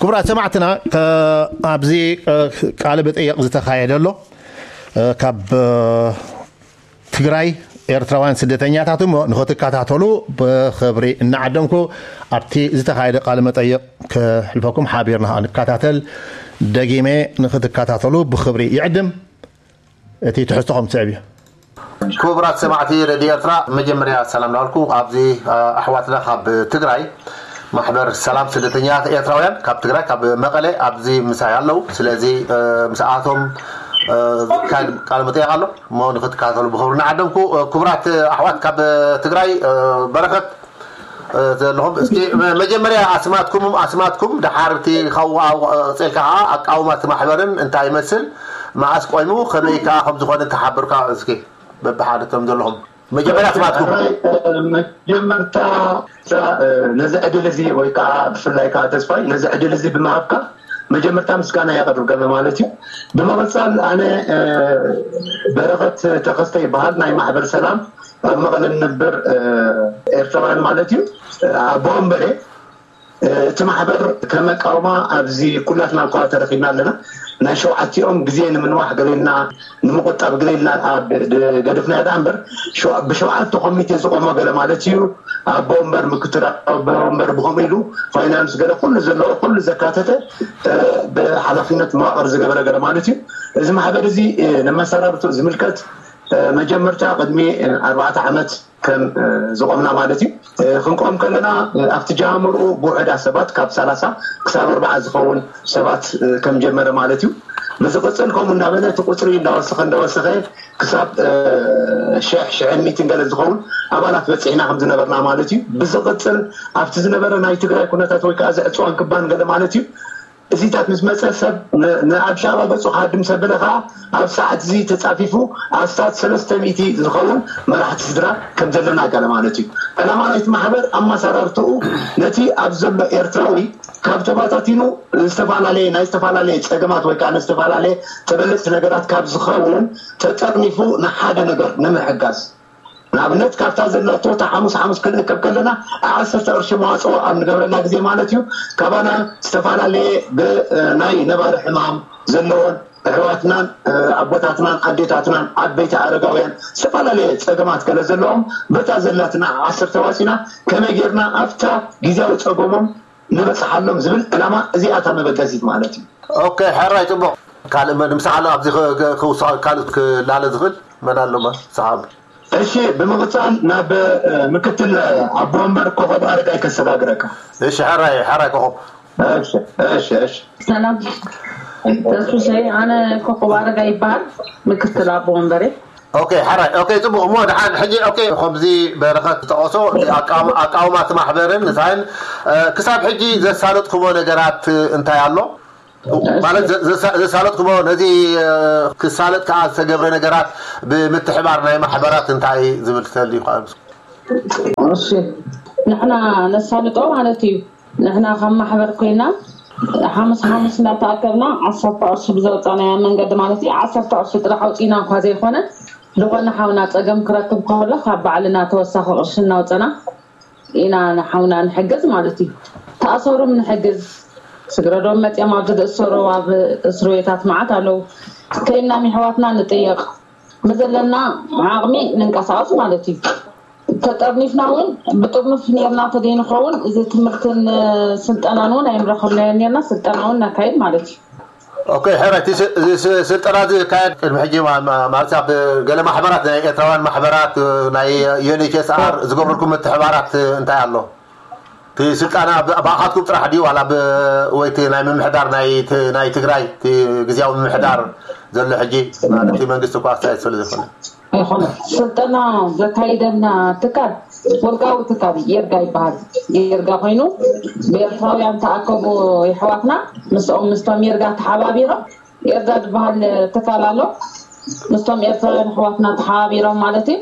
ክቡራት ሰማዕትና፣ ከ- ኣብዚ እ፣ ቃለ መጠየቕ ዝተኻየደ ኣሎ። እ፣ ካብ እ፣ ትግራይ ኤርትራውያን ስደተኛታት እሞ ንኽትከታተሉ ብኽብሪ እናዓደምኩ፣ ኣብቲ ዝተኻየደ ቃለ መጠይቕ ክሕልፈኩም ሓቢርና ንከታተል። ደጊመ ንኽትከታተሉ ብኽብሪ ይዕድም። እቲ ትሕዝቶ ከም ትስዕብ እዩ። ክቡራት ሰማዕቲ ሬድዮ ኤርትራ፣ መጀመርያ ሰላም ላልኩ ኣብዚ ኣሕዋትና ካብ ትግራይ ማሕበር ሰላም ስደተኛታት ኤርትራውያን ካብ ትግራይ ካብ መቐለ ኣብዚ ምሳይ ኣለዉ። ስለዚ ምስኣቶም ካል ቃል መጠየቅ ኣሎ እሞ ንክትከታተሉ ብክብሪ እናዓደምኩ፣ ክቡራት ኣሕዋት ካብ ትግራይ በረከት ዘለኹም፣ እስኪ መጀመርያ ኣስማትኩም ኣስማትኩም፣ ድሓር እቲ ካብኡ ቀፂልካ ከዓ ኣቃውማ እቲ ማሕበርን እንታይ ይመስል፣ መዓስ ቆይሙ፣ ከመይ ከዓ ከም ዝኾነ ተሓብርካ እስኪ በብሓደ እቶም ዘለኹም መጀመርያ ኣስማትኩም። መጀመርታ ነዚ ዕድል እዚ ወይ ከዓ ብፍላይ ከዓ ተስፋይ ነዚ ዕድል እዚ ብምሃብካ መጀመርታ ምስጋና የቅርብ ገለ ማለት እዩ። ብምቕፃል ኣነ በረኸት ተኸስተ ይበሃል፣ ናይ ማሕበር ሰላም ኣብ መቐለ ንነብር ኤርትራውያን ማለት እዩ። ኣቦ ወንበሬ እቲ ማሕበር ከመቃውማ ኣብዚ ኩላትና እኳ ተረኪብና ኣለና። ናይ ሸውዓቲኦም ግዜ ንምንዋሕ ገሌና ንምቁጣብ ገሌና ገደፍና ዳ እምበር ብሸውዓተ ኮሚቴ ዝቆሞ ገለ ማለት እዩ። ኣቦ ወንበር ምክትል ኣቦ ወንበር ብከምኡ ኢሉ ፋይናንስ ገለ ኩሉ ዘለዎ ኩሉ ዘካተተ ብሓላፍነት መዋቅር ዝገበረ ገለ ማለት እዩ። እዚ ማሕበር እዚ ንመሰራርቱ ዝምልከት መጀመርታ ቅድሚ ኣርባዕተ ዓመት ከም ዝቆምና ማለት እዩ። ክንቆም ከለና ኣብቲ ጃምርኡ ብውሕዳ ሰባት ካብ ሰላሳ ክሳብ ኣርባዓ ዝኸውን ሰባት ከም ጀመረ ማለት እዩ። ብዝቕፅል ከምኡ እናበለ እቲ ቁፅሪ እንዳወሰኸ እንዳወሰኸ ክሳብ ሽሕ ሽሕን ሚእትን ገለ ዝኸውን ኣባላት በፂሕና ከም ዝነበርና ማለት እዩ። ብዝቕፅል ኣብቲ ዝነበረ ናይ ትግራይ ኩነታት ወይ ከዓ ዝዕፅዋን ክባን ገለ ማለት እዩ እዚታት ምስ መፀ ሰብ ንኣዲስ ኣበባ ገፁ ክሃድም ሰበለ ከዓ ኣብ ሰዓት እዚ ተፃፊፉ ኣስታት ሰለስተ ሚእቲ ዝኸውን መራሕቲ ስድራ ከም ዘለና ገለ ማለት እዩ። ዕላማ ናይቲ ማሕበር ኣመሰራርትኡ ነቲ ኣብ ዘሎ ኤርትራዊ ካብ ተባታቲኑ ዝተፈላለየ ናይ ዝተፈላለየ ፀገማት ወይ ከዓ ዝተፈላለየ ተበለፅቲ ነገራት ካብ ዝኸውን ተጠርኒፉ ንሓደ ነገር ንምሕጋዝ ንኣብነት ካብታ ዘላቶ እታ ሓሙስ ሓሙስ ክንእከብ ከለና ዓሰርተ ቅርሺ መዋፅኦ ኣብ ንገብረላ ግዜ ማለት እዩ ካባና ዝተፈላለየ ብናይ ነባሪ ሕማም ዘለዎን ኣሕዋትናን ኣቦታትናን ኣዴታትናን ዓበይቲ ኣረጋውያን ዝተፈላለየ ፀገማት ገለ ዘለዎም በታ ዘላትና ዓሰርተ ዋፂና ከመይ ጌርና ኣብታ ግዜያዊ ፀገሞም ንበፅሓሎም ዝብል ዕላማ እዚኣታ መበገሲት ማለት እዩ። ኦኬ ሕራይ ፅቡቅ ካልእ መን ምሳሕ ኣሎ ኣብዚ ክውስዖ ካልእ ክላለ ዝኽእል መን ኣሎ ሰሓብ እሺ ብምቕፃል ናብ ምክትል ኣቦ ወንበር ኮኸብ ኣረጋይ ከሰጋግረካ እሺ ሕራይ ሕራይ ኮኸብ እሺ እሺ እሺ ሰላም ተስፍሸይ ኣነ ኮኸብ ኣረጋይ ይበሃል ምክትል ኣቦ ወንበሬ ኦኬ ሕራይ ኦኬ ፅቡቅ እሞ ድሓን ሕጂ ኦኬ ከምዚ በረኸት ዝጠቐሶ ኣቃውማ እቲ ማሕበርን ንሳይን ክሳብ ሕጂ ዘሳለጥኩሞ ነገራት እንታይ ኣሎ ማለት ዘሳለጥኩሞ ነዚ ክሳለጥ ከዓ ዝተገብረ ነገራት ብምትሕባር ናይ ማሕበራት እንታይ ዝብል ተልዩ እሺ ንሕና ነሳልጦ ማለት እዩ ንሕና ካብ ማሕበር ኮይና ሓሙስ ሓሙስ እናተኣከብና ዓሰርተ ቅርሺ ብዘውፃናያ መንገዲ ማለት እዩ ዓሰርተ ቅርሺ ጥራሕ ኣውፂና እኳ ዘይኮነ ዝኾነ ሓውና ፀገም ክረክብ ከሎ ካብ ባዕልና ተወሳኺ ቅርሺ እናውፀና ኢና ንሓውና ንሕግዝ ማለት እዩ ተኣሰሩም ንሕግዝ ስግረዶም መፅኦም ኣብዚ ዝእሰሩ ኣብ እስርቤታት መዓት ኣለዉ ከይናም ይሕዋትና ንጥየቕ ብዘለና ዓቕሚ ንንቀሳቐስ ማለት እዩ ተጠርኒፍና እውን ብጥርኑፍ ኔርና ተደይንኸውን እዚ ትምህርትን ስልጠናን እውን ኣይምረኸብናዮ ኔርና ስልጠና እውን ነካይድ ማለት እዩ ኦኬ ሕራይ እቲ ስልጠና እዚ ዝካየድ ቅድሚ ሕጂ ማለት ኣብ ገለ ማሕበራት ናይ ኤርትራውያን ማሕበራት ናይ ዩኤንኤችኤስኣር ዝገብረልኩም ምትሕባራት እንታይ ኣሎ እቲ ስልጠና ብኣኻትኩም ጥራሕ ድዩ ዋላ ወይ እቲ ናይ ምምሕዳር ናይ ትግራይ እቲ ግዜያዊ ምምሕዳር ዘሎ ሕጂ ማለት መንግስቲ እኳ ኣስተያየት ስለ ዝኾነ ኣይኮነ ስልጠና ዘካይደልና ትካል ወልቃዊ ትካል የርጋ ይበሃል የርጋ ኮይኑ ብኤርትራውያን ተኣከቡ ይሕዋትና ምስኦም ምስቶም የርጋ ተሓባቢሮም የርጋ ዝበሃል ትካል ኣሎ ምስቶም ኤርትራውያን ኣሕዋትና ተሓባቢሮም ማለት እዩ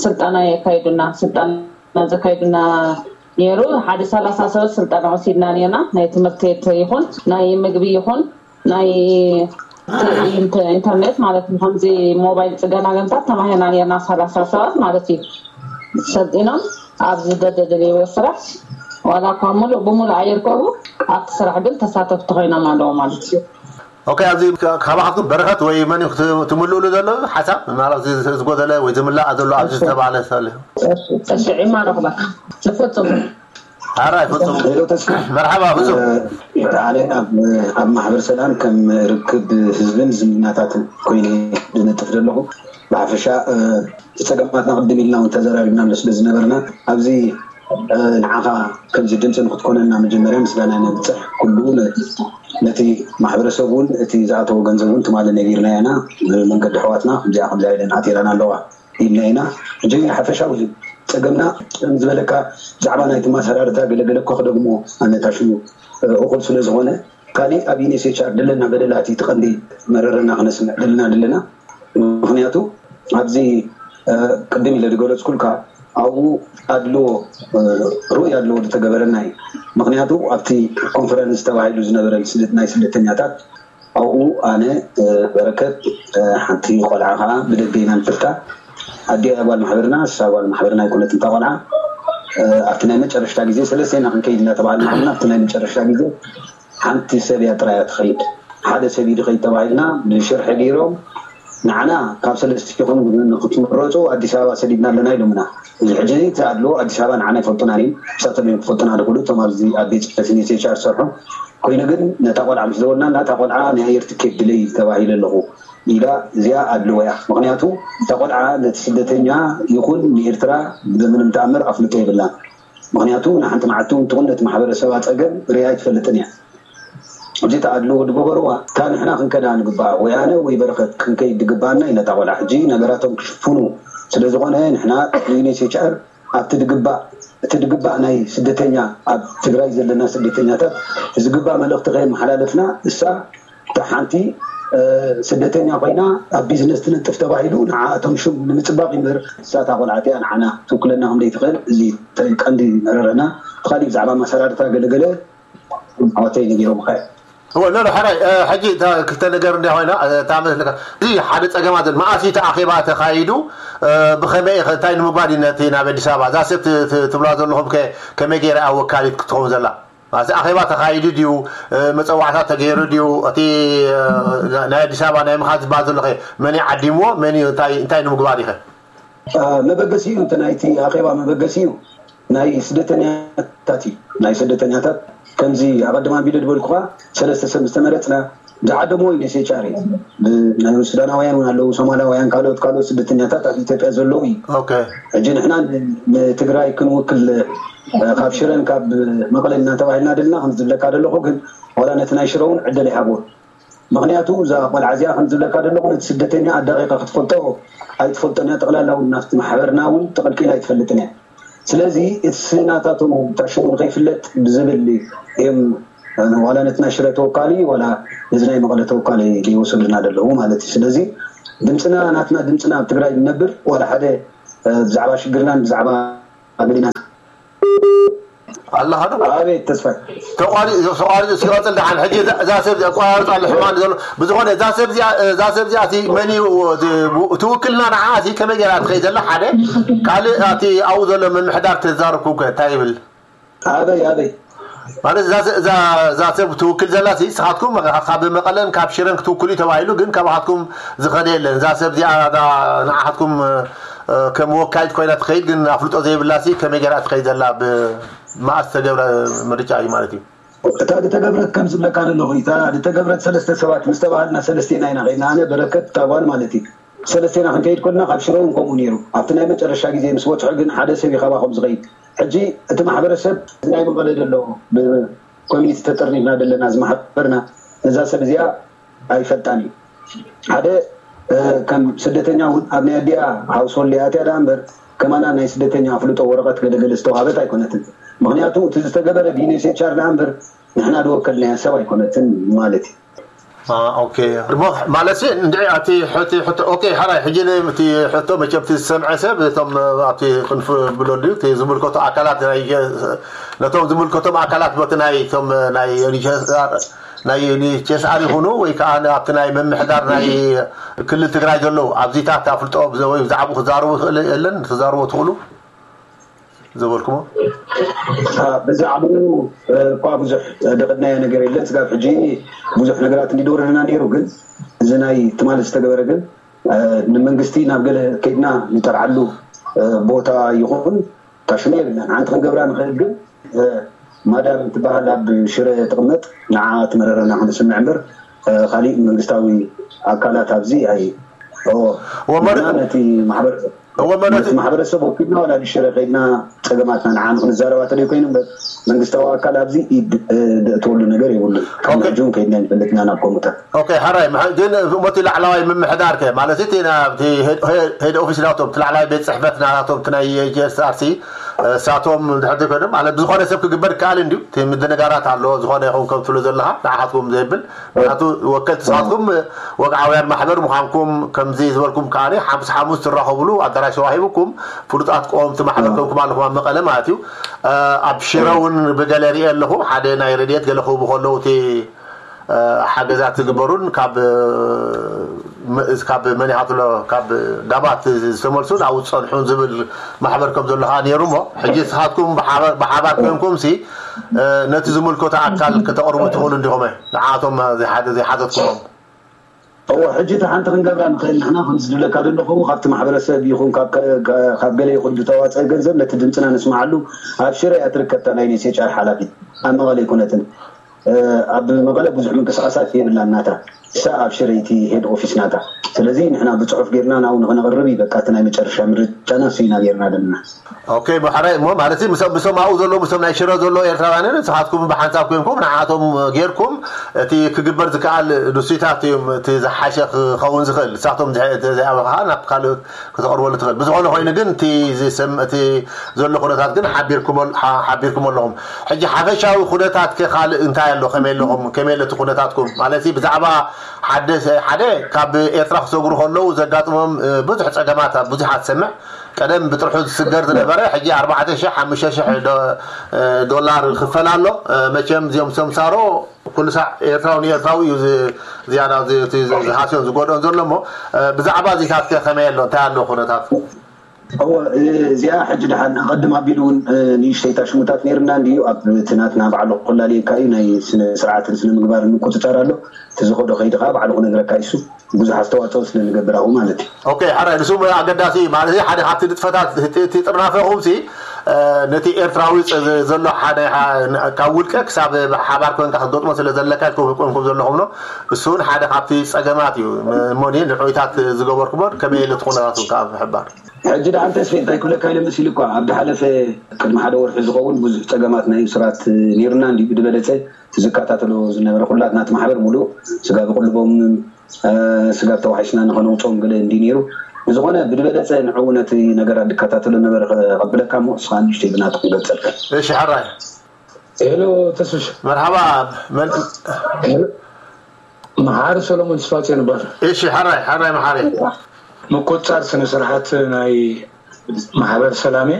ስልጠና የካይዱና ስልጠና ዘካይዱና ነይሩ ሓደ ሰላሳ ሰባት ስልጠና ወሲድና ነርና ናይ ትምህርቲ ይኹን ናይ ምግቢ ይኹን ናይ ኢንተርኔት ማለት ከምዚ ሞባይል ፅገና ገንታት ተማሂርና ነርና ሰላሳ ሰባት ማለት እዩ ሰልጢኖም ኣብዚ ደደደለይዎ ስራሕ ዋላ እኳ ሙሉእ ብሙሉእ ኣየርከቡ፣ ኣብቲ ስራሕ ግን ተሳተፍቲ ኮይኖም ኣለዉ ማለት እዩ። ኦኬ፣ ኣብዚ ካባኻትኩም በረኸት ወይ መን እዩ ትምልእሉ ዘሎ ሓሳብ? ማለት ዝጎደለ ወይ ዝምላእ ዘሎ ኣብዚ ዝተባለ ሰለ እሺ፣ ዒማ ረኽበካ። ዝፈጽሙ ኣራይ ፍጹም። ሄሎ ተስፋ መርሓባ ፍጹም። ኣነ ኣብ ኣብ ማሕበር ሰላም ከም ርክብ ህዝብን ዝምድናታትን ኮይነ ዝነጥፍ ዘለኹ። ብሓፈሻ እቲ ጸገማትና ቅድም ኢልና እውን ተዘራሪብናሉ ስለ ዝነበርና ኣብዚ ንዓኻ ከምዚ ድምፂ ንክትኮነና መጀመርያ ምስጋና ነብፅሕ። ኩሉ ነቲ ማሕበረሰብ እውን እቲ ዝኣተዎ ገንዘብ እውን ትማሊ ነጊርና ኢና። መንገዲ ኣሕዋትና ከምዚኣ ከምዚኣ ኢለን ኣቲረና ኣለዋ ኢልና ኢና። ሕጂ ሓፈሻዊ ጸገምና ከም ዝበለካ ብዛዕባ ናይቲ ማሰራርታ ገለገለ እኳ ክደግሞ ኣነታሽሙ እኹል ስለ ዝኾነ ካሊእ ኣብ ዩኔስኤችኣር ደለና በደላት እቲ ቀንዲ መረረና ክነስምዕ ደልና ደለና። ምክንያቱ ኣብዚ ቅድም ኢለ ዝገለፅኩልካ ኣብኡ ኣድልዎ ርኡይ ኣድልዎ ዝተገበረና እዩ። ምክንያቱ ኣብቲ ኮንፈረንስ ተባሂሉ ዝነበረ ናይ ስደተኛታት ኣብኡ ኣነ በረከት ሓንቲ ቆልዓ ከዓ ብደገ ኢና ንፈልጣ። ኣዲኣ ጓል ማሕበርና ንሳ ጓል ማሕበርና ኣይኮነትን እታ ቆልዓ። ኣብቲ ናይ መጨረሽታ ግዜ ሰለስቴና ክንከይድ እናተባሃልና ከለና ኣብቲ ናይ መጨረሽታ ግዜ ሓንቲ ሰብ እያ ጥራይ እያ ትኸይድ። ሓደ ሰብ እዩ ዝኸይድ ተባሂልና ብሽርሒ ገይሮም ንዓና ካብ ሰለስቲኹም ንክትምረፁ ኣዲስ ኣበባ ሰዲድና ኣለና ኢሎምና። እዚ ሕጂ እቲ ኣድልዎ ኣዲስ ኣበባ ንዓና ይፈልጡና ድዮም ንሳቶም እዮም ክፈልጡና ዝኽእሉ እቶም ኣብዚ ኣብ ቤት ፅሕፈት ዩኤንኤችሲኣር ዝሰርሑ። ኮይኑ ግን ነታ ቆልዓ ምስ ደወልና ነታ ቆልዓ ናይ ኣየር ትኬት ድለይ ተባሂለ ኣለኹ ኢላ እዚኣ ኣድልዎ እያ። ምክንያቱ እታ ቆልዓ ነቲ ስደተኛ ይኹን ንኤርትራ ብምንም ተኣምር ኣፍልጦ የብላን። ምክንያቱ ንሓንቲ መዓልቲ እውን ትኹን ነቲ ማሕበረሰባ ፀገም ሪኣ ኣይትፈልጥን እያ። እዚ ተኣድልዎ ዝገበርዋ እታ ንሕና ክንከዳ ንግባኣ ወይ ኣነ ወይ በረኸት ክንከይድ ዝግባኣና ኢና እታ ቆልዓ ሕጂ ነገራቶም ክሽፍኑ ስለዝኾነ ንሕና ዩኤንኤችሲኣር ኣብቲ ድግባእ እቲ ድግባእ ናይ ስደተኛ ኣብ ትግራይ ዘለና ስደተኛታት ዝግባእ መልእኽቲ ከየመሓላለፍና እሳ እታ ሓንቲ ስደተኛ ኮይና ኣብ ቢዝነስ ትነጥፍ ተባሂሉ ንዓኣቶም ሽም ንምፅባቕ ይምበር እሳ እታ ቆልዓ እቲኣ ንዓና ትውክለና ከም ዘይትኽእል እዚ ቀንዲ መረረና። እቲ ካሊእ ብዛዕባ ማሰራርታ ገለገለ ኣወተይ ነጊሮምካ እዮም። እወ ኖኖ ሕራይ ሕጂ እታ ክልተ ነገር እንዲያ ኮይና እታ መስለካ እዚ ሓደ ፀገማ ዘሎ መኣስ እዩ እቲ ኣኼባ ተኻይዱ ብኸመይ ኢኸ እንታይ ንምግባር እዩ ነቲ ናብ ኣዲስ ኣበባ እዛ ሰብ ትብላ ዘለኹም ከ ከመይ ገይራ እያ ወካሊት ክትኸውን ዘላ ማለት ኣኼባ ተኻይዱ ድዩ መፀዋዕታ ተገይሩ ድዩ እቲ ናይ ኣዲስ ኣበባ ናይ ምኻድ ዝበሃል ዘሎ ኸ መን እዩ ዓዲምዎ መን እዩ እንታይ እንታይ ንምግባር ኢኸ መበገሲኡ እቲ ናይቲ ኣኼባ መበገሲኡ ናይ ስደተኛታት እዩ። ናይ ስደተኛታት ከምዚ ኣቐድም ኣቢለ ዝበልኩኻ ሰለስተ ሰብ ዝተመረፅና ዝዓደምዎ ዩኤንኤችሲኣር እዩ። ናይ ሱዳናውያን እውን ኣለዉ፣ ሶማላውያን፣ ካልኦት ካልኦት ስደተኛታት ኣብ ኢትዮጵያ ዘለዉ እዩ። ሕጂ ንሕና ንትግራይ ክንውክል ካብ ሽረን ካብ መቐለን እናተባሂልና ደልና ከም ዝብለካ ዘለኹ ግን ዋላ ነቲ ናይ ሽረ እውን ዕድል ኣይሃብዎን። ምኽንያቱ እዛ ቆልዓ እዚኣ ከም ዝብለካ ዘለኹ ነቲ ስደተኛ ኣዳቒቓ ክትፈልጦ ኣይትፈልጦን እያ። ጠቕላላ እውን ናብቲ ማሕበርና እውን ተቐልቂላ ኣይትፈልጥን እያ። ስለዚ እቲ ናታቶም ታሽሙ ንኸይፍለጥ ብዝብል እዮም ዋላ ነቲ ናይ ሽረ ተወካሊ ዋላ ነዚ ናይ መቐለ ተወካሊ ዘይወሰዱልና ዘለዉ ማለት እዩ። ስለዚ ድምፅና ናትና ድምፅና ኣብ ትግራይ ንነብር ዋላ ሓደ ብዛዕባ ሽግርናን ብዛዕባ ገሊና ኣለኻ ዶ ኣቤት ተስፋይ ተቋሪፁ ተቋሪፁ ሲቐፅል ደሓን ሕጂ እዛ ሰብ ኣቋራርፃ ኣሎ ሕማን ዘሎ ብዝኾነ እዛ ሰብ እዚኣ እዛ ሰብ እዚኣ እቲ መን እዩ እቲ ውክልና ንዓ እቲ ከመይ ገይራ ትኸይ ዘላ ሓደ ካልእ እቲ ኣብኡ ዘሎ ምምሕዳር ተዛረብኩም ከ እንታይ ይብል ኣበይ ኣበይ ማለት እዛ እዛ እዛ ሰብ ትውክል ዘላ ሲ ንስኻትኩም ካብ መቐለን ካብ ሽረን ክትውክሉ እዩ ተባሂሉ ግን ካባኻትኩም ዝኸደ የለን እዛ ሰብ እዚኣ ንዓኻትኩም ከም ወካሊት ኮይና ትኸይድ ግን ኣፍልጦ ዘይብላ ሲ ከመይ ገይራ ትኸይድ ዘላ ብመኣ ዝተገብረ ምርጫ እዩ ማለት እዩ እታ ዝተገብረት ከም ዝብለካ ዘለኹ እታ ዝተገብረት ሰለስተ ሰባት ምስ ተባሃልና ሰለስቴና ኢና ከይድና ኣነ በረከት እታ ጓል ማለት እዩ ሰለስቴና ክንከይድ ኮልና ካብ ሽረ እውን ከምኡ ነይሩ ኣብቲ ናይ መጨረሻ ግዜ ምስ በፅሑ ግን ሓደ ሰብ እዩ ካባኹም ዝኸይድ ሕጂ እቲ ማሕበረሰብ እዚ ናይ መቐለ ዘሎ ብኮሚኒቲ ተጠርኒፍና ዘለና እዚ ማሕበርና ነዛ ሰብ እዚኣ ኣይፈልጣን እዩ ሓደ ከም ስደተኛ እውን ኣብ ናይ ኣዲኣ ሃውስሆልድ እያ ኣትያ ደኣ እምበር ከማና ናይ ስደተኛ ኣፍልጦ ወረቐት ገለገለ ዝተዋሃበት ኣይኮነትን ምክንያቱ እቲ ዝተገበረ ብዩኤንኤችሲኣር ደኣ እምበር ንሕና ዝወከልናያ ሰብ ኣይኮነትን ማለት እዩ ኦኬ እሞ ማለት እንድዒ ኣቲ ሕቲ ሕቶ ኦኬ ሓራይ ሕጂ እቲ ሕቶ መቸም እቲ ዝሰምዐ ሰብ እቶም ኣብቲ ክንፍ ብለሉ እቲ ዝምልከቱ ኣካላት ናይ ነቶም ዝምልከቶም ኣካላት በቲ ናይ እቶም ናይ ናይ ዩኤንኤችሲኣር ይኹኑ ወይ ከዓ ኣብቲ ናይ ምምሕዳር ናይ ክልል ትግራይ ዘለዉ ኣብዚታት ኣፍልጦ ወይ ብዛዕባኡ ክዛረቡ ይኽእል የለን ክዛረቡ ትኽእሉ ዝበልኩሞ? ብዛዕባኡ እኳ ብዙሕ ደቐድናዮ ነገር የለን። ስጋብ ሕጂ ብዙሕ ነገራት እንዲደወረድና ነይሩ፣ ግን እዚ ናይ ትማሊ ዝተገበረ ግን ንመንግስቲ ናብ ገለ ከይድና ንጠርዓሉ ቦታ ይኹን ታሽሙ የብልናን። ሓንቲ ክንገብራ ንኽእል ግን ማዳም ትበሃል ኣብ ሽረ ትቕመጥ፣ ንዓ ትመረረና ክንስምዕ እምበር ካሊእ መንግስታዊ ኣካላት ኣብዚ ኣይ ወመረ- ነቲ ማሕበረሰብ ወመረ- ነቲ ማሕበረሰብ ወኪልና ዋላ ንሽረ ከይድና ፀገማትና ንዓ ክንዛረባ ተደይ ኮይኑ እምበር መንግስታዊ ኣካል ኣብዚ ኢድ ደእተወሉ ነገር የብሉን። ካብ ሕጂ እውን ከይድና ይፈልጥና ናብ ኮሙታት። ኦኬ፣ ሓራይ። ግን እሞቲ ላዕላዋይ ምምሕዳር ከ ማለት እቲ ናብቲ ሄድ ኦፊስ ናቶም እቲ ላዕላዋይ ቤት ፅሕፈት ናቶም እቲ ናይ ጂኤስኣርሲ እሳቶም ድሕር ኮይኖም ማለት ብዝኾነ ሰብ ክግበር ይከኣል እንድዩ። እቲ ምድንጋራት ኣሎ ዝኾነ ይኹን ከም ትብሉ ዘለኻ ንዓኻትኩም ዘይብል ምክንያቱ ወከልቲ ንስኻትኩም ወግዓውያን ማሕበር ምዃንኩም ከምዚ ዝበልኩም ከኣ ሓሙስ ሓሙስ ትራኸብሉ ኣዳራሽ ተዋሂብኩም ፍሉጣት ቀወምቲ ማሕበር ከምኩም ኣለኹም ኣብ መቐለ ማለት እዩ። ኣብ ሽረ እውን ብገለ ሪኤ ኣለኹ ሓደ ናይ ረድኤት ገለ ክህቡ ከለዉ እቲ ሓገዛት ዝግበሩን ካብ ካብ መን ይሃትሎ ካብ ዳባት ዝተመልሱን ኣብኡ ዝፀንሑን ዝብል ማሕበር ከም ዘሎ ከዓ ነይሩ እሞ ሕጂ ንስኻትኩም ብሓባር ኮይንኩም ሲ ነቲ ዝምልከቶ ኣካል ከተቕርቡ ትኽእሉ እንዲኹም ንዓቶም ዘይሓተትኩሞም እዎ ሕጂ እቲ ሓንቲ ክንገብራ ንኽእል ንሕና ከም ዝድለካ ዘለኹ ካብቲ ማሕበረሰብ ይኹን ካብ ገለ ይኹን ዝተዋፀእ ገንዘብ ነቲ ድምፅና ንስማዓሉ ኣብ ሽረ እያ ትርከብታ ናይ ኔሴቻር ሓላፊት ኣብ መቐለ ኣይኮነትን ኣብ መቐለ ብዙሕ ምንቅስቃሳት የብላን ናታ እሳ ኣብ ሽረ እቲ ሄድ ኦፊስ ናታ ስለዚ ንሕና ብፅሑፍ ጌርና ናብኡ ንክነቕርብ እዩ በቃ እቲ ናይ መጨረሻ ምርጫና እሱ ኢና ጌርና ዘለና ኦኬ ብሕራይ እሞ ማለት ምስኦም ኣብኡ ዘለዉ ምስኦም ናይ ሽረ ዘለዉ ኤርትራውያንን ንስኻትኩም ብሓንሳብ ኮይንኩም ንዓቶም ጌርኩም እቲ ክግበር ዝከኣል ንሱይታት እዮም እቲ ዝሓሸ ክኸውን ዝኽእል ንሳቶም ዘይኣበኻ ናብ ካልኦት ክተቕርበሉ ትኽእል ብዝኾነ ኮይኑ ግን እቲ ዝሰም እቲ ዘሎ ኩነታት ግን ሓቢርኩም ኣለኹም ሕጂ ሓፈሻዊ ኩነታት ከ ካልእ እንታይ ኣሎ ከመይ ኣለኹም ከመይ ኣለቲ ኩነታትኩም ማለት ብዛዕባ ሓደ ሓደ ካብ ኤርትራ ክሰግሩ ከለዉ ዘጋጥሞም ብዙሕ ፀገማት ብዙሓት ሰምዕ ቀደም ብጥርሑ ዝስገር ዝነበረ ሕጂ ኣርባዕተ ሽሕ ሓሙሽተ ሽሕ ዶላር ክፈል ኣሎ መቸም እዚኦም ሰምሳሮ ኩሉ ሳዕ ኤርትራዊ ንኤርትራዊ እዩ ዝያዳ ዝሃስዮን ዝጎድኦን ዘሎ እሞ ብዛዕባ እዚታት ከ ከመይ ኣሎ እንታይ ኣሎ ኩነታት እወ እዚኣ ሕጂ ደሓን ኣቐድም ኣቢሉ እውን ንእሽተይ ታሽሙታት ነይርና እንድዩ ኣብ እቲ ናትና ባዕሉ ክላለየካ እዩ ናይ ስነ ስርዓትን ስነ ምግባርን ምቁፅፃር ኣሎ እቲ ዝኸዶ ከይዲ ከዓ ባዕሉ ክነግረካ ይሱ ብዙሕ ኣስተዋፅኦ ስለ ንገብር ኣብኡ ማለት እዩ ኦኬ ሕራይ ንሱ ኣገዳሲ እዩ ማለት ሓደ ካብቲ ንጥፈታት እቲ ጥርናፈኹም ሲ ነቲ ኤርትራዊ ዘሎ ሓደ ካብ ውልቀ ክሳብ ሓባር ኮንካ ክትገጥሞ ስለ ዘለካ ኢልኩም ዘለኹም ኖ እሱ እውን ሓደ ካብቲ ፀገማት እዩ እሞ ንዑይታት ዝገበርኩሞን ከመይ ኢሉ እቲ ኩነታት እውን ከዓ ምሕባር ሕጂ ደኣ ተስፌ እንታይ ክብለካ ኢለ መሲሉ እኳ ኣብ ዝሓለፈ ቅድሚ ሓደ ወርሒ ዝኸውን ብዙሕ ፀገማት ናይ እሱራት ነይሩና እንዲ ብዝበለፀ ዝከታተሎ ዝነበረ ኩላትና እቲ ማሕበር ሙሉእ ስጋብ ቁልቦም ስጋብ ተዋሒስና ንኸነውፅኦም ገለ እንዲ ነይሩ ብዝኾነ ብዝበለፀ ንዕኡ ነቲ ነገራት ዝከታተሎ ነበረ ከብለካ እሞ እስኻ ንእሽተይ ብናቱ ክገልፀልካ እሺ ሕራይ ሄሎ ተስፍሽ መርሓባ መሓሪ ሰሎሞን ስፋጽዮን ይባል እሺ ሓራይ ሓራይ መሓሪ ምቁጻር ስነ ስርዓት ናይ ማሕበር ሰላሜ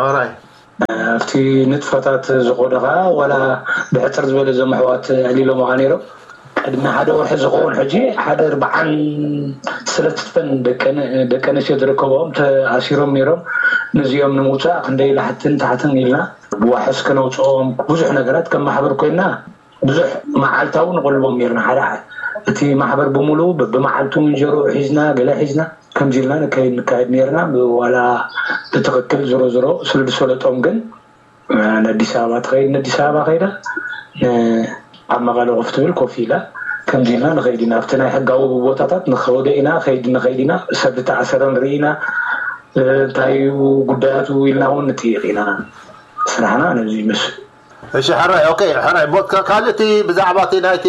ሓራይ ኣብቲ ንጥፈታት ዝኮነ ከዓ ዋላ ብሕፅር ዝበለ ዘመሕዋት ዕሊሎምኻ ነይሮም ቅድሚ ሓደ ወርሒ ዝኸውን ሕጂ ሓደ ኣርባዓን ሰለስተን ደቂ ኣንስትዮ ዝርከብኦም ተኣሲሮም ነይሮም ነዚኦም ንምውፃእ ክንደይ ላሕትን ታሕትን ኢልና ብዋሕስ ከነውፅኦም ብዙሕ ነገራት ከም ማሕበር ኮይና ብዙሕ መዓልታዊ ንቆልቦም ነርና ሓደ ሓደ እቲ ማሕበር ብምሉኡ ብመዓልቱ ምንጀሮ ሒዝና ገለ ሒዝና ከምዚ ኢልና ንካይድ ነርና ዋላ ብትክክል ዝሮ ዝሮ ስለ ዝሰለጦም ግን ንኣዲስ ኣበባ ትኸይድ ንኣዲስ ኣበባ ከይዳ ኣብ መቐለ ኮፍ ትብል ኮፍ ኢላ ከምዚ ኢልና ንኸይድ ኢና ኣብቲ ናይ ሕጋዊ ቦታታት ንኸወደ ኢና ከይድ ንኸይድ ኢና ሰብ ዝተኣሰረ ንርኢ ኢና እንታይ ጉዳያቱ ኢልና እውን ንጥይቕ ኢና ስራሕና ነዚ ይመስል እሺ ሕራይ ኦኬ ሕራይ ቦትካ ካልእ እቲ ብዛዕባ እቲ ናይቲ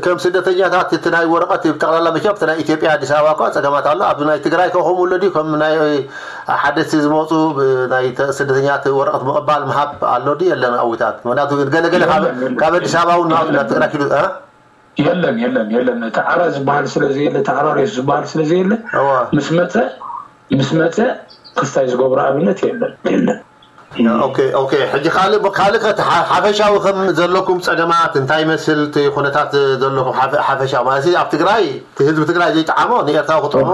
ከም ስደተኛታት እቲ ናይ ወረቐት ብጠቕላላ መቸም እቲ ናይ ኢትዮጵያ ኣዲስ ኣበባ እኳ ፀገማት ኣሎ ኣብ ናይ ትግራይ ከ ከምኡ ኣሎ ድዩ ከም ናይ ሓደስቲ ዝመፁ ናይ ስደተኛት ወረቐት ምቕባል ምሃብ ኣሎ ድዩ የለን ኣዊታት ምክንያቱ ገለገለ ካብ ኣዲስ ኣበባ እውን ናብ ትግራይ ኪዱ የለን የለን የለን እቲ ዓራ ዝበሃል ስለ ዘየለ እቲ ዓራ ሬስ ዝበሃል ስለ ዘየለ ምስ መፀ ምስ መፀ ክስታይ ዝገብሮ ኣብነት የለን የለን ኦኬ ኦኬ ሕጂ ካልእ ካልእ ከ ሓፈሻዊ ከም ዘለኩም ፀገማት እንታይ ይመስል እቲ ኩነታት ዘለኩም ሓፈሻዊ ማለት ኣብ ትግራይ እቲ ህዝቢ ትግራይ ዘይጠዓሞ ንኤርትራዊ ክጥዕሞ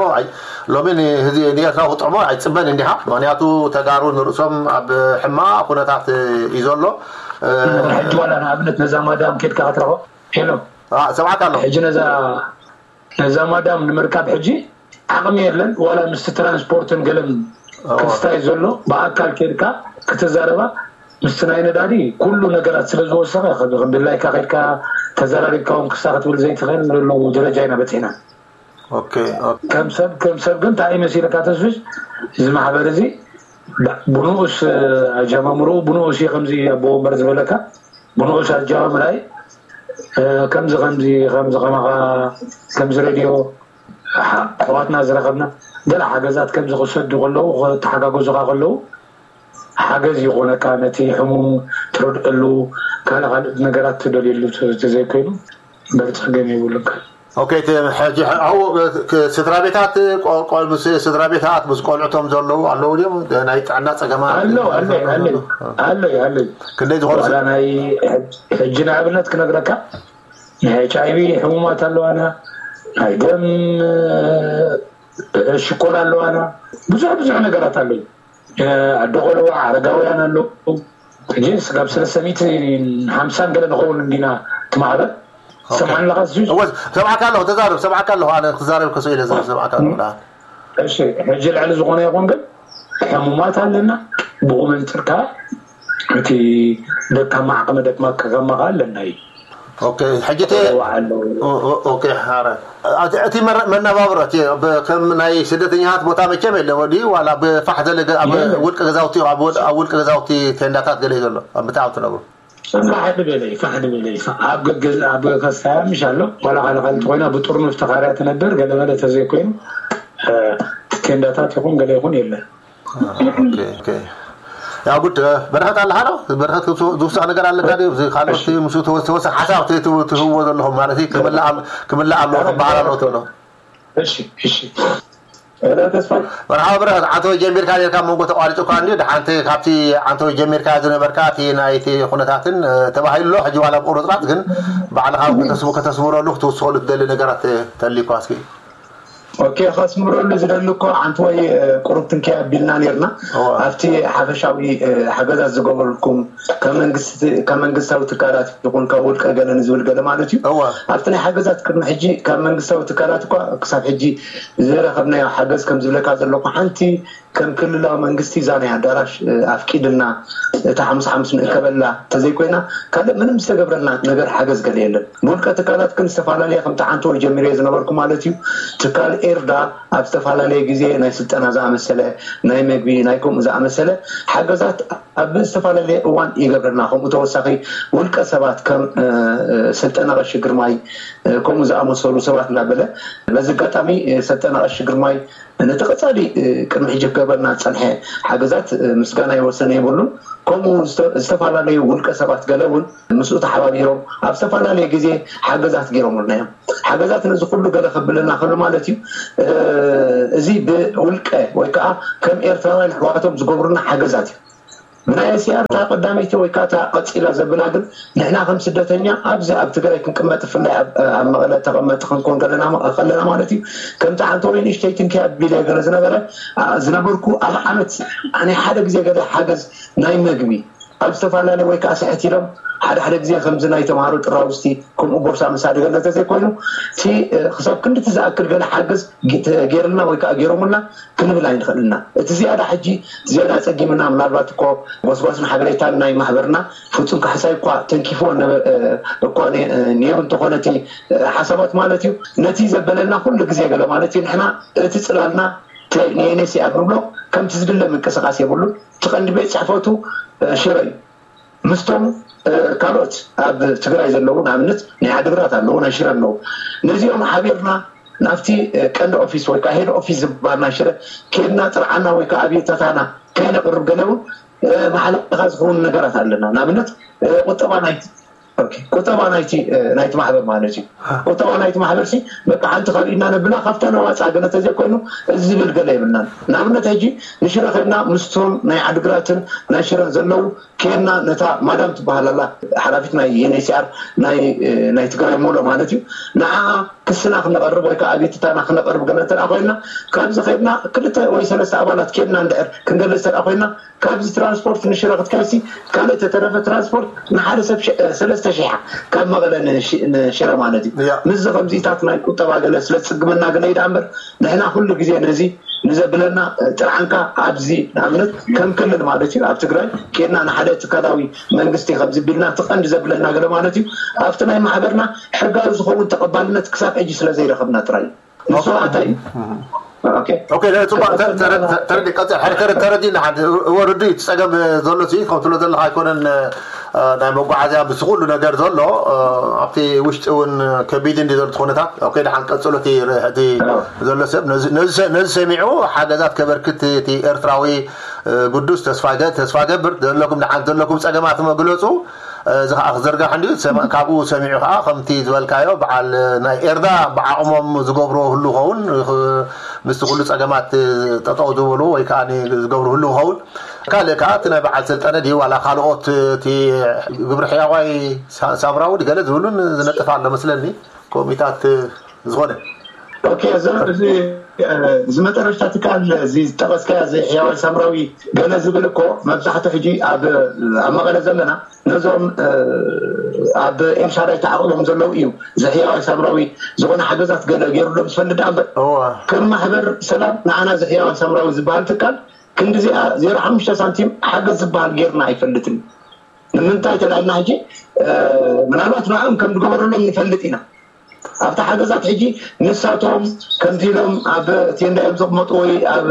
ሎሚ ንህዚ ንኤርትራ ክጥዕሞ ኣይጽበን እንዲኻ። ምኽንያቱ ተጋሩ ንርእሶም ኣብ ሕማቕ ኩነታት እዩ ዘሎ። ሕጂ ዋላ ንኣብነት ነዛ ማዳም ኬድካ ክትረኽቦ ሄሎ ሰብዓካ ኣሎ። ሕጂ ነዛ ነዛ ማዳም ንምርካብ ሕጂ ዓቕሚ የለን። ዋላ ምስቲ ትራንስፖርትን ገለን ክስታይ ዘሎ ብኣካል ኬድካ ክትዛረባ ምስቲ ናይ ነዳዲ ኩሉ ነገራት ስለ ዝወሰኸ ድላይካ ከድካ ተዘራሪብካ እውን ክሳ ክትብል ዘይትኽእል ዘሎ ደረጃ ኢና በፂሕና። ከም ሰብ ከም ሰብ ግን እንታይ መሲልካ ተስፍሽ እዚ ማሕበር እዚ ብንኡስ ኣጀማምርኡ ብንኡስ እዩ ከምዚ ኣቦ ወንበር ዝበለካ ብንኡስ ኣጀማምራይ ከምዚ ከምዚ ከምዚ ከማኻ ከምዚ ሬድዮ ኣሕዋትና ዝረኸብና ገለ ሓገዛት ከምዚ ክሰዱ ከለዉ ክተሓጋገዙኻ ከለዉ ሓገዝ ይኾነካ ነቲ ሕሙም ትረድአሉ ካልእ ካልእ ነገራት ትደልየሉ ተዘይኮይኑ በርፀገም የብሉካ። ኦኬ፣ እቲ ሕጂ ኣብኡ ክ- ስድራ ቤታት ቆ- ቆ- ምስ ስድራ ቤታት ምስ ቆልዕቶም ዘለዉ ኣለዉ ድዮም? ናይ ጥዕና ጸገማት ኣለዉ ኣለዩ ኣለዩ ኣለዩ ኣለዩ ክንደይ ዝኾኑ ዋላ ናይ ሕጂ ንኣብነት ክነግረካ ናይ ኤች ኣይቪ ሕሙማት ኣለዋና ናይ ደም ሽኮር ኣለዋና ብዙሕ ብዙሕ ነገራት ኣለዩ ኣዶ ቆልዑ ዓረጋውያን ኣለዉ ሕጂ ስጋብ ሰለስተ ሚእቲ ሓምሳን ገለ ንኸውን እንዲና ትማዕበል ሰማን ኣለኻ እሱ እወ ሰብዓካ ኣለኹ ተዛረብ ሰብዓካ ኣለኹ ኣነ ክዛረብ ከስኡ ኢለ ሰብዓካ ኣለኹ እሺ ሕጂ ልዕሊ ዝኾነ ይኹን ግን ሕሙማት ኣለና ብኡ መንፅር ከዓ እቲ ደካማ ዓቕሚ ደክማ ከማኻ ኣለና እዩ ኦኬ ሕጂ እቲ ኣለዉ ኦ- ኦ- ኦኬ ሓረ እቲ እቲ መረ- መነባብሮ እቲ ብ- ከም ናይ ስደተኛታት ቦታ መቸም የለ ወዲ ዋላ ብፋሕ ዘለ ገ- ኣብ ውልቀ ገዛውቲ ኣብ ወድ- ኣብ ውልቀ ገዛውቲ ቴንዳታት ገለ እዩ ዘሎ ኣብ ምትኣብ ትነብሩ ፋሕ ዝበለ እዩ ፋሕ ዝበለ እዩ ኣብ ገገዝ ኣብ ከስታያ ምሽ ኣሎ ዋላ ካልእ ካልእ እንተኮይና ብጥርኑፍ ተኻርያ ትነብር ገለመለ ተዘይኮይኑ እ፣ ቴንዳታት ይኹን ገለ ይኹን የለን ኦኬ፣ ኦኬ። ያው ጉድ በረኸት ኣለካ ዶ በረኸት ዝውሳእ ነገር ኣለካ ድዩ እዚ ካልኦት ምስ ተወሰ ሓሳብ ትህብዎ ዘለኹም ማለት እዩ ክምላእ ኣም- ክምላእ ኣለዎ ክበሃል ኣለዎ ትብሎ እሺ እሺ እ፣ ተስፋይ መርሓባ ብረኸት ዓንተወይ ጀሚርካ ኔርካ መንጎ ተቋሪፁ እኳ እንዲ ድሓንቲ ካብቲ ዓንተወይ ጀሚርካ ዝነበርካ እቲ ናይቲ ኩነታትን እ፣ ተባሂሉ ኣሎ ሕጂ ዋላ ብቁርፅራፅ ግን ባዕልኻ እውን ከተስሙ- ከተስምረሉ ክትውስኸሉ ትደሊ ነገራት እ፣ ተልዩኳ እስኪ ኦኬ ከስምረሉ ዝደሊ እኮ ዓንተወይ ቁሩብ ትንከይ ኣቢልና ኔርና ኣብቲ ሓፈሻዊ ሓገዛት ዝገበርኩም ካብ መንግስታዊ ትካላት ይኹን ካብ ውልቀ ገለ ንዝብል ገለ ማለት እዩ ኣብቲ ናይ ሓገዛት ቅድሚ ሕጂ ካብ መንግስታዊ ትካላት እኳ ክሳብ ሕጂ ዝረኸብናዮ ሓገዝ ከም ዝብለካ ዘለኩ ሓንቲ ከም ክልላዊ መንግስቲ እዛ ናይ ኣዳራሽ ኣፍቂድልና እታ ሓሙስ ሓሙስ ንእከበላ እንተዘይኮይና ካልእ ምንም ዝተገብረልና ነገር ሓገዝ ገለ የለን ብውልቀ ትካላት ግን ዝተፈላለየ ከምቲ ዓንተወይ ጀሚረዮ ዝነበርኩ ማለት እዩ ትካል ኤርዳ ኣብ ዝተፈላለየ ግዜ ናይ ስልጠና ዝኣመሰለ ናይ መግቢ ናይ ከምኡ ዝኣመሰለ ሓገዛት ኣብ ዝተፈላለየ እዋን ይገብረልና ከምኡ ተወሳኺ ውልቀ ሰባት ከም ስልጠና ቀሺ ግርማይ ከምኡ ዝኣመሰሉ ሰባት እናበለ በዚ ኣጋጣሚ ሰልጠና ቀሺ ግርማይ ነቲ ቀፃሊ ቅድሚ ሕጂ ክገብረልና ዝፀንሐ ሓገዛት ምስጋና ይወሰነ የብሉን ከምኡ ዝተፈላለዩ ውልቀ ሰባት ገለ እውን ምስኡ ተሓባቢሮም ኣብ ዝተፈላለየ ግዜ ሓገዛት ገይሮምልና እዮም ሓገዛት ነዚ ኩሉ ገለ ከብለና ከሎ ማለት እዩ እዚ ብውልቀ ወይ ከዓ ከም ኤርትራውያን ኣሕዋቶም ዝገብሩና ሓገዛት እዩ ብናይ እስያር እታ ቀዳመይቲ ወይ ከዓ እታ ቀፂላ ዘብላ ግን ንሕና ከም ስደተኛ ኣብዚ ኣብ ትግራይ ክንቅመጥ ብፍላይ ኣብ መቐለ ተቐመጥ ክንኮን ከለና ማለት እዩ ከምቲ ሓንቲ ወይ ንእሽተይ ትንኪ ኣቢለ ገለ ዝነበረ ዝነበርኩ ኣብ ዓመት ናይ ሓደ ግዜ ገለ ሓገዝ ናይ መግቢ ኣብ ዝተፈላለየ ወይ ከዓ ስሕት ኢሎም ሓደ ሓደ ግዜ ከምዚ ናይ ተምሃሮ ጥራውስቲ ከምኡ ቦርሳ መሳዲ ገለ እንተዘይኮይኑ እቲ ክሳብ ክንድቲ ዝኣክል ገለ ሓገዝ ገይርልና ወይ ከዓ ገይሮምልና ክንብል ኣይንኽእል ኢና። እቲ ዝያዳ ሕጂ ዝያዳ ኣፀጊምና ምናልባት እኮ ጎስጓስን ሓበሬታን ናይ ማሕበርና ፍፁም ካሕሳይ እኳ ተንኪፍዎ እኳ ነይሩ እንተኾነ እቲ ሓሳባት ማለት እዩ ነቲ ዘበለና ኩሉ ግዜ ገለ ማለት እዩ ንሕና እቲ ፅላልና ንኤንኤስኣር ንብሎ ከምቲ ዝድለ ምንቅስቃስ የብሉን። እቲ ቀንዲ ቤት ፅሕፈቱ ሽረ እዩ። ምስቶም ካልኦት ኣብ ትግራይ ዘለዉ ንኣብነት ናይ ዓድግራት ኣለዉ ናይ ሽረ ኣለዉ ነዚኦም ሓቢርና ናብቲ ቀንዲ ኦፊስ ወይ ከዓ ሄድ ኦፊስ ዝበሃል ናይ ሽረ ከድና ጥርዓና ወይ ከዓ ኣብየታታና ከይነቅርብ ገለ እውን ማሕለኻ ዝኸውን ነገራት ኣለና ንኣብነት ቁጠባ ናይ ቁጠባ ናይቲ ናይቲ ማሕበር ማለት እዩ። ቁጠባ ናይቲ ማሕበር ሲ በቃ ሓንቲ ካብ ኢድና ነብላ ካብታ ነዋፃ ገለ ተዘይኮይኑ እዚ ዝብል ገለ የብልናን። ንኣብነት ሕጂ ንሽረ ከድና ምስቶም ናይ ዓድግራትን ናይ ሽረን ዘለዉ ከድና ነታ ማዳም ትበሃል ኣላ ሓላፊት ናይ ዩኤንኤችሲኣር ናይ ናይ ትግራይ ሞሎ ማለት እዩ። ንዓ ክስና ክነቐርብ ወይ ከዓ ኣቤቱታና ክነቐርብ ገለ እንተ ኮይና ካብዚ ከድና ክልተ ወይ ሰለስተ ኣባላት ከድና እንድሕር ክንገልፅ እንተ ኮይና ካብዚ ትራንስፖርት ንሽረ ክትከይሲ ካልእ ተተረፈ ትራንስፖርት ንሓደ ሰብ ሰለስተ ሺሕ ካብ መቐለ ንሽረ ማለት እዩ። ምስዚ ከምዚታት ናይ ቁጠባ ገለ ስለ ዝፅግመና ገለ ይዳ እምበር ንሕና ኩሉ ግዜ ነዚ ንዘብለና ጥርዓንካ ኣብዚ ንኣብነት ከም ክልል ማለት እዩ ኣብ ትግራይ ኬድና ንሓደ ትካላዊ መንግስቲ ከምዚ ቢልና እቲ ቀንዲ ዘብለና ገለ ማለት እዩ ኣብቲ ናይ ማሕበርና ሕጋዊ ዝኸውን ተቐባልነት ክሳብ ሕጂ ስለ ዘይረኸብና ጥራይ እዩ። ንሱ ኣታይ ኦኬ፣ ጽቡቅ ተረዲ ቀጽል። ሓደ ተረዲ ተረዲ ንሓድ እወ ርዱእ እዩ። እቲ ጸገም ዘሎ ሲ ከም ትብሎ ዘለካ ኣይኮነን። ናይ መጓዓዝያ ምስ ኩሉ ነገር ዘሎ ኣብቲ ውሽጢ እውን ከቢድ እንዲ ዘሎ ኩነታት ኦኬ፣ ደሓን ቀጽሎ እቲ ዘሎ ሰብ ነዚ ሰሚዑ ሓገዛት ከበርክት እቲ ኤርትራዊ ግዱስ ተስፋ ተስፋ ገብር ዘለኩም ደሓን ዘለኩም ጸገማት መግለጹ እዚ ከዓ ክዝርጋሕ እንድዩ። ሰማ- ካብኡ ሰሚዑ ከዓ ከምቲ ዝበልካዮ በዓል ናይ ኤርዳ ብዓቕሞም ዝገብርዎ ህሉ ኸውን ኽ- ምስቲ ኩሉ ፀገማት ጠጠው ዝበሉ ወይ ከዓ ዝገብሩ ህሉ ኸውን ካልእ ከዓ እቲ ናይ በዓል ስልጠነ ድዩ ዋላ ካልኦት እቲ ግብሪ ሕያዋይ ሳ- ሳምራዊ ድገለ ዝብሉን ዝነጥፍ ኣሎ መስለኒ ኮሚታት ዝኾነ ኦኬ፣ እዚ እዚ መጠረሽታ ትካል እዚ ዝጠቐስካያ እዚ ሕያዋይ ሳምራዊ ገለ ዝብል እኮ መብዛሕትኡ ሕጂ ኣብ ኣብ መቐለ ዘለና ነዞም ኣብ ኤልሻዳይ ተዓቕቦም ዘለዉ እዩ። እዚ ሕያዋይ ሳምራዊ ዝኾነ ሓገዛት ገለ ገይሩሎም ዝፈልጥ ደኣ እምበር ከም ማሕበር ሰላም ንዓና እዚ ሕያዋይ ሳምራዊ ዝበሃል ትካል ክንዲዚኣ ዜሮ ሓሙሽተ ሳንቲም ሓገዝ ዝበሃል ገይርና ኣይፈልጥን። ንምንታይ ተላልና ሕጂ ምናልባት ንዕኦም ከም ዝገበረሎም ንፈልጥ ኢና። ኣብቲ ሓገዛት ሕጂ ንሳቶም ከምዚ ኢሎም ኣብ ቴንዳ እዮም ዘቕመጡ ወይ ኣብ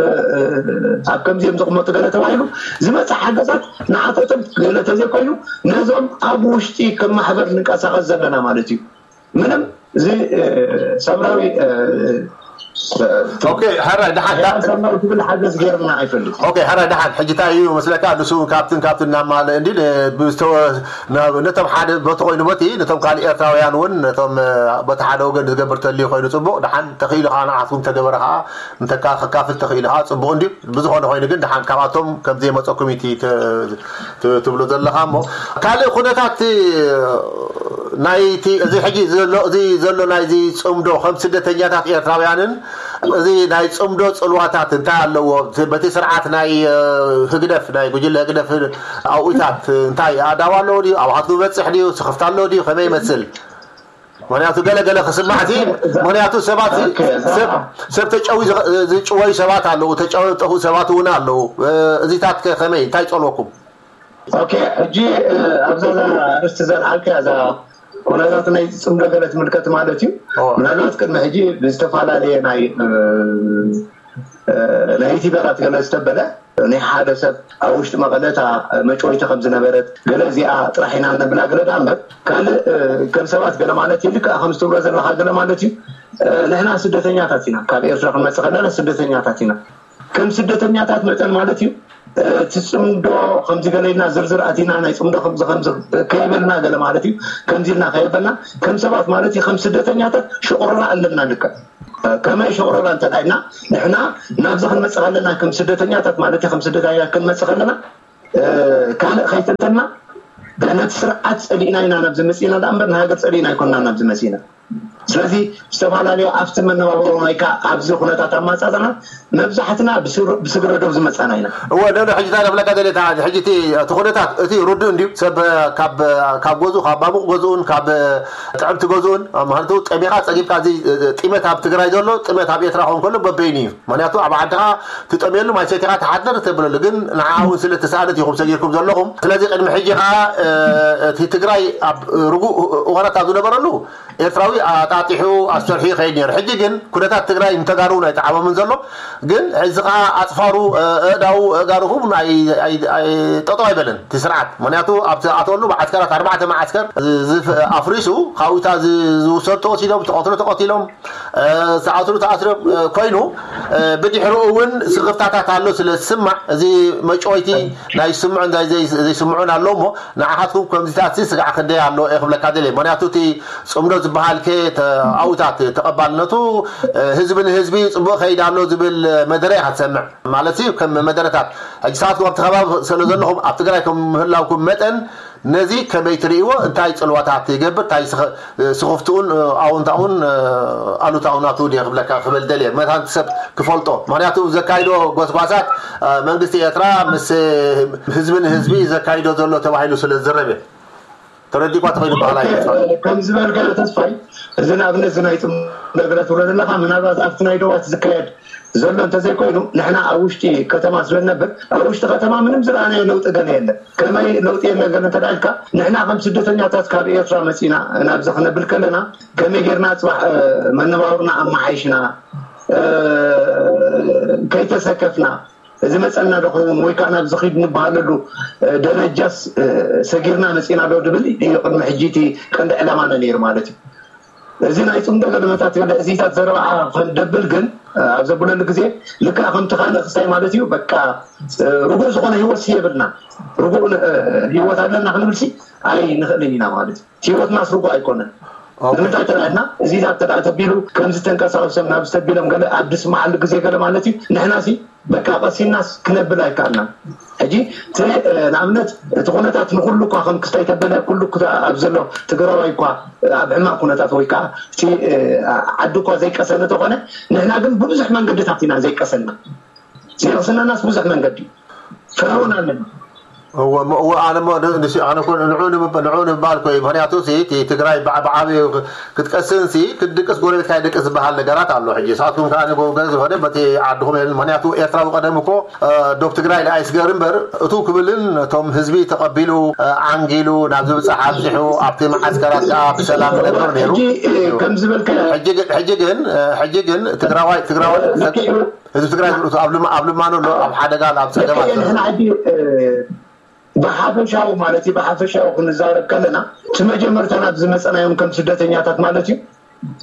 ኣብ ከምዚ እዮም ዘቕመጡ ገለ ተባሂሉ ዝመፅእ ሓገዛት ንዓቶቶም ገለ ተዘይኮይኑ ነዞም ኣብ ውሽጢ ከም ማሕበር ንንቀሳቐስ ዘለና ማለት እዩ። ምንም እዚ ሰብራዊ ኦኬ፣ ሕራይ ደሓን ዳ- ሰብራዊ ትብል ሓገዝ ገይርና ኣይፈልጥ። ኦኬ፣ ሕራይ ደሓን ሕጂ እንታይ እዩ መስለካ ንሱ እውን ካብትን ካብትን እናማለ እንዲ ብ- ዝተወ- ናብ- ነቶም ሓደ በቲ ኮይኑ በቲ ነቶም ካልእ ኤርትራውያን እውን ነቶም እ፣ በቲ ሓደ ወገን ዝገብር ተልዩ ኮይኑ ፅቡቕ ደሓን ተኽኢሉ ከዓ ንዓትኩም ተገበረ ከዓ እንተካ ከካፍል ተኽኢሉ ከዓ ፅቡቕ እንድዩ። ብዝኾነ ኮይኑ ግን ደሓን ካብኣቶም ከምዘይመፀኩም እቲ ተ- ት- ትብሎ ዘለኻ እሞ ካልእ ኩነታት ናይቲ እዚ ሕጂ ዘሎ እዚ ዘሎ ናይዚ ፅምዶ ከም ስደተኛታት ኤርትራውያንን እዚ ናይ ፅምዶ ፅልዋታት እንታይ ኣለዎ? በቲ ስርዓት ናይ ህግደፍ ናይ ጉጅለ ህግደፍ ኣብኡታት እንታይ ኣዳዋ ኣለዎ ድዩ? ኣብሃትኩም ይበፅሕ ድዩ? ስኽፍታ ኣለዎ ድዩ? ከመይ ይመስል? ምክንያቱ ገለ ገለ ክስማዕ እቲ ምክንያቱ ሰባት ሰብ ተጨዊ ዝጭወዩ ሰባት ኣለዉ፣ ተጨዊ ጠፍኡ ሰባት እውን ኣለዉ። እዚታት ከ ከመይ እንታይ ይፀልወኩም? ኦኬ፣ ሕጂ ኣብዛ ኣርስቲ ዘልዓልካ እዛ ኩነታት ናይ ፅምዶ ገለ ትምልከት ማለት እዩ። ምናልባት ቅድሚ ሕጂ ብዝተፈላለየ ናይ ናይ ዩቲበራት ገለ ዝተበለ ናይ ሓደ ሰብ ኣብ ውሽጢ መቐለ እታ መጨወይቲ ከም ዝነበረት ገለ እዚኣ ጥራሕ ኢና ነብላ ገለ ዳ እምበር ካልእ ከም ሰባት ገለ ማለት እዩ። ልክኣ ከም ዝትብሎ ዘለካ ገለ ማለት እዩ። ንሕና ስደተኛታት ኢና፣ ካብ ኤርትራ ክንመፅእ ከለና ስደተኛታት ኢና። ከም ስደተኛታት መጠን ማለት እዩ እቲ ፅምዶ ከምዚ ገለ ኢልና ዝርዝር ኣቲና ናይ ፅምዶ ከምዚ ከምዚ ከይበልና ገለ ማለት እዩ። ከምዚ ኢልና ከይበልና ከም ሰባት ማለት እዩ ከም ስደተኛታት ሽቕሮና ኣለና። ልክዕ ከመይ ሽቕሮና እንተ ኢልና ንሕና ናብዚ ክንመፅእ ከለና ከም ስደተኛታት ማለት እዩ ከም ስደተኛታት ክንመፅእ ከለና ካልእ ከይተንተና ነቲ ስርዓት ፀሊእና ኢና ናብዚ መፂእና ዳ እምበር ንሃገር ፀሊእና ኣይኮንና ናብዚ መፂእና። ስለዚ ዝተፈላለዩ ኣብቲ መነባብሮ ናይካ ኣብዚ ኩነታት ኣማፃፅና መብዛሕትና ብስግረ ዶብ ዝመፃና ኢና። እወ ደሎ ሕጂ እንታይ ክብለካ ደልየ ሕጂ እቲ ኩነታት እቲ ርዱእ እንድዩ ሰብ ካብ ገዝኡ ካብ ባሙቕ ገዝኡን ካብ ጥዕምቲ ገዝኡን ማለት ጠሚኻ ፀጊብካ እዚ ጢመት ኣብ ትግራይ ዘሎ ጢመት ኣብ ኤርትራ ክኸውን ከሎ በበይኑ እዩ። ምክንያቱ ኣብ ዓድኻ ትጠምየሉ ማይ ሰቲኻ ትሓድር ተብለሉ ግን ንዓ እውን ስለ ተሳእለት ኢኹም ሰጊርኩም ዘለኹም። ስለዚ ቅድሚ ሕጂ ከዓ እቲ ትግራይ ኣብ ርጉእ እዋናት ኣብ ዝነበረሉ ኤርትራዊ ኣታ ጣጢሑ ኣስተርሑ ይኸይድ ነይሩ። ሕጂ ግን ኩነታት ትግራይ ንተጋሩ ናይ ጠዓሞምን ዘሎ፣ ግን እዚ ከዓ ኣፅፋሩ፣ ኣእዳው፣ ኣእጋሩ ሁሉ ኣይ- ኣይ- ኣይ- ጠጠው ኣይበለን እቲ ስርዓት። ምክንያቱ ኣብቲ ኣተወሉ መዓስከራት ኣርባዕተ መዓስከር ዝፍ- ኣፍሪሱ ካብኡታ ዝውሰዱ ተወሲዶም፣ ተቐትሉ ተቐቲሎም፣ ዝኣስሩ ተኣስሮም ኮይኑ፣ ብድሕርኡ እውን ስኽፍታታት ኣሎ ስለ ዝስማዕ፣ እዚ መጨወይቲ ናይ ዝስምዑን ዘይስምዑን ኣሎ እሞ፣ ንዓኻትኩም ከምዚታት ስጋዕ ክንደይ ኣሎ እየ ክብለካ ደልየ። ምክንያቱ እቲ ፅምዶ ዝበሃል ከ ኣውታት ተቐባልነቱ ህዝቢ ንህዝቢ ፅቡቅ ከይድ ኣሎ ዝብል መደረ ኢኻ ትሰምዕ ማለት እዩ። ከም መደረታት ሕጂ ሰዓትኩም ኣብቲ ከባቢ ስለ ዘለኹም ኣብ ትግራይ ከም ምህላውኩም መጠን ነዚ ከመይ ትርእይዎ? እንታይ ፅልዋታት ይገብር? እንታይ ስኽፍትኡን ኣውንታኡን ኣሉታኡ ናቱ ድየ ክብለካ ክብል ደልየ መታን ሰብ ክፈልጦ። ምክንያቱ ዘካይዶ ጎስጓሳት መንግስቲ ኤርትራ ምስ ህዝቢ ንህዝቢ ዘካይዶ ዘሎ ተባሂሉ ስለ ዝዝረብ እየ። ተረዲኳ ተኸይኑ በሃላይ። ከም ዝበልካዮ ተስፋይ፣ እዚ ንኣብነት እዚ ናይ ፅምዶ ገለ ትብሎ ዘለካ ምናልባት ኣብቲ ናይ ዶባት ዝካየድ ዘሎ እንተዘይኮይኑ፣ ንሕና ኣብ ውሽጢ ከተማ ስለ ንነብር ኣብ ውሽጢ ከተማ ምንም ዝረኣናዮ ለውጢ ገለ የለን። ከመይ ለውጢ የለን ገለ እንተዳልካ፣ ንሕና ከም ስደተኛታት ካብ ኤርትራ መፂና ናብዚ ክነብል ከለና ከመይ ጌርና ፅባሕ መነባብርና ኣመሓይሽና፣ ከይተሰከፍና፣ እዚ መፀና ዶ ክኸውን ወይ ከዓ ናብዚ ኺድ ንበሃለሉ ደረጃስ ሰጊርና መፂና ዶ ድብል እዩ ቅድሚ ሕጂ እቲ ቀንዲ ዕላማና ነይሩ ማለት እዩ። እዚ ናይ ፅምዶ ገለመታት ገለ እዚታት ዘረባዓ ክንደብል ግን ኣብ ዘብለሉ ግዜ ልክዕ ከምቲ ካልእ ክስታይ ማለት እዩ። በቃ ርጉእ ዝኾነ ህይወት የብልና። ርጉእ ህይወት ኣለና ክንብልሲ ኣይንኽእልን ኢና ማለት እዩ። ህይወትናስ ርጉእ ኣይኮነን። ንምንታይ ተላልና እዚታት ተዳ ተቢሉ ከምዚ ተንቀሳቀሶም ናብ ዝተቢሎም ገለ ኣብ ድስማዓሉ ግዜ ገለ ማለት እዩ። ንሕናሲ በቃ ቀሲናስ ክነብል ኣይከኣልናን። ሕጂ እቲ ንኣብነት እቲ ኩነታት ንኩሉ እኳ ከም ክስታይ ተበለ ኩሉ ኣብ ዘሎ ትግራዋይ እኳ ኣብ ሕማቅ ኩነታት ወይ ከዓ እቲ ዓዲ እኳ ዘይቀሰነ ተኾነ ንሕና ግን ብብዙሕ መንገድታት ኢና ዘይቀሰና። ዘይቅስነናስ ብዙሕ መንገዲ ፈርዖን ኣለና። እወ እሞ እወ ኣነ እሞ ን- ንስ ኣነ ኮ ንዑ ንምብ- ንዑ ንምባል ኮ እዩ። ምክንያቱ ሲ እቲ ትግራይ ብዓ- ብዓብዩ ክ- ክትቀስን ሲ ክትድቅስ ጎረቤትካ ይድቅስ ዝበሃል ነገራት ኣሎ። ሕጂ ንስኻትኩም ከዓ ንጎ- ገለ ዝኾነ በቲ ዓድኹም የለን። ምክንያቱ ኤርትራዊ ቀደም እኮ እ፣ ዶብ ትግራይ ንኣይስገር እምበር እቱ ክብልን እቶም ህዝቢ ተቐቢሉ እ፣ ዓንጊሉ ናብ ዝብፃሕ ኣብዚሑ ኣብቲ መዓስከራት ከዓ ብሰላም ነበር ነይሩ። ሕጂ እ፣ ከም ዝበልካዮ ሕጂ ግን ሕጂ ግን እ፣ ሕጂ ግን ትግራዋይ ትግራዋይ ልክዕ እዩ። ህዝቢ ትግራይ ዝርእቱ ኣብ ልማ- ኣብ ልማኖ ኣሎ፣ ኣብ ሓደጋ ኣሎ፣ ኣብ ፀገማት ልክዕ እዩ። ንሕና ሕጂ እ፣ ብሓፈሻዊ ማለት እዩ ብሓፈሻዊ ክንዛረብ ከለና እቲ መጀመርታ ናብ ዝመፀናዮም ከም ስደተኛታት ማለት እዩ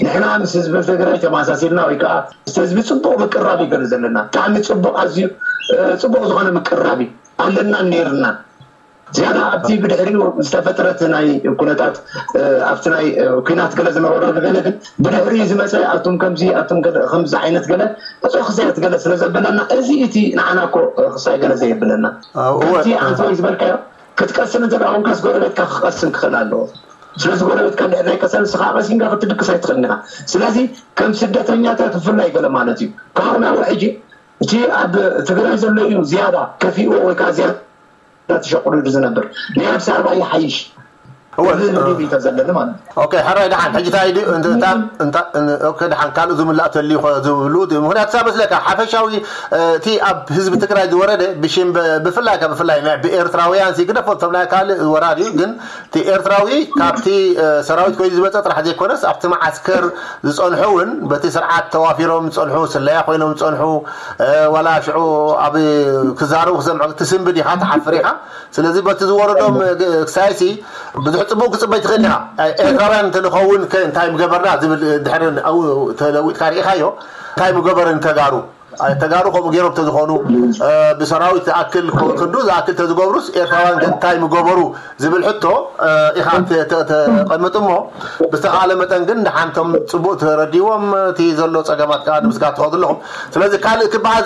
ንሕና ምስ ህዝቢ ትግራይ ተመሳሲልና ወይ ከዓ ምስ ህዝቢ ፅቡቅ ምቅራብ እዩ ገለ ዘለና ብጣዕሚ ፅቡቅ ኣዝዩ እ፣ ፅቡቅ ዝኾነ ምቅራብ እዩ ኣለና ነይርና ዝያዳ ኣብቲ ብድሕሪኡ ዝተፈጥረት ናይ ኩነታት እ፣ ኣብቲ ናይ እ፣ ኩናት ገለ ዝነበረሉ ገለ ግን ብድሕሪኡ ዝመፀ ኣቱም ከምዚ ኣቱም ገለ ከምዚ ዓይነት ገለ እቶ ክሳያት ገለ ስለ ዘበለና እዚ እቲ ንዓና እኮ እ፣ ክሳይ ገለ ዘየብለና ኣብኡ ከምቲ ኣንተ ዝበልካዮ ክትቀስን እንተ ደኣ ኮንካስ ጎረቤትካ ክቐስን ክኽእል ኣለዎ። ስለዚ ጎረቤትካ እንድሕር ናይ ቀሰን ንስኻ ቀሲንካ ክትድቅስ ኣይትኽእልን ኢኻ። ስለዚ ከም ስደተኛታት ብፍላይ ገለ ማለት እዩ። ካብ ናብኡ ሕጂ እቲ ኣብ ትግራይ ዘሎ እዩ ዝያዳ ከፊእዎ ወይ ከዓ ዝያዳ ተሸቁሉ ዝነብር ናይ ኣዲስ ኣበባ ይሓይሽ እወ። እዚ ህዝቢ ድዩ እንተ ዘለና ማለት እዩ። ኦኬ፣ ሕራይ ደሓን። ሕጂ እንታይ ድዩ? እንተ- እንተ- እንተ- ኦኬ፣ ደሓን ካልእ ዝምላእ ተልዩ ኸ ዝብሉ ድዩ? ምኽንያቱ ሳብ መስለካ ሓፈሻዊ እ፣ እቲ ኣብ ህዝቢ ትግራይ ዝወረደ ብሽም ብ- ብፍላይ ካብ ብፍላይ ናይ ብኤርትራውያን ሲ ግደፎ እቶም ናይ ካልእ ወራር እዩ ግን እቲ ኤርትራዊ ካብቲ እ፣ ሰራዊት ኮይኑ ዝመፀ ጥራሕ ዘይኮነስ ኣብቲ መዓስከር ዝፀንሑ እውን በቲ ስርዓት ተዋፊሮም ዝፀንሑ ስለያ ኮይኖም ዝፀንሑ እ፣ ዋላ ሽዑ ኣብ ክዛረቡ ክሰምዑ ትስንብድ ኢኻ ትሓፍር ኢኻ ስለዚ በቲ ዝወረዶም እ፣ ግ- ክሳይሲ ብዙሕ ፅቡቅ ክፅበይ ትኽእል ኢኻ ኤርትራውያን እንተንኸውን ከ እንታይ ምገበርና ዝብል ድሕሪ ኣብኡ ተለዊጥካ ርኢኻዮ እንታይ ምገበርን ተጋሩ ተጋሩ ከምኡ ገይሮም ተዝኾኑ ብሰራዊት ዝኣክል ክንዱ ዝኣክል ተዝገብሩስ ኤርትራውያን ግን እንታይ ምገበሩ ዝብል ሕቶ ኢኻ ተቐምጥ እሞ ብዝተኻለ መጠን ግን ንሓንቶም ፅቡቅ ተረዲዎም እቲ ዘሎ ፀገማት ከዓ ንምስጋር ትኸዱ ኣለኹም ስለዚ ካልእ ክበሃል